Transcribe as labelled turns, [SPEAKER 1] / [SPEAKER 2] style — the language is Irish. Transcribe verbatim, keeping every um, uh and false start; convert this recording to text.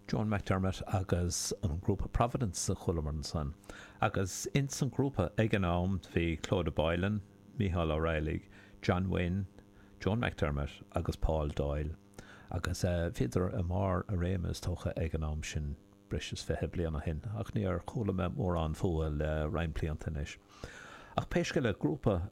[SPEAKER 1] Joan McDermott agus an grúpa Providence a chualamar ansan. Agus ins an grúpa ag an am bhí Clodagh Boylan, Micheál Ó Raghallaigh, John Wynne, Joan McDermott agus Paul Doyle. Agus uh, bhíodar i mbarr a réime is dócha ag an am sin breis is fiche bliain ó shin, ach níor chuala mé mórán fúthu le roinnt blianta anois. Ach pé scéal é grúpa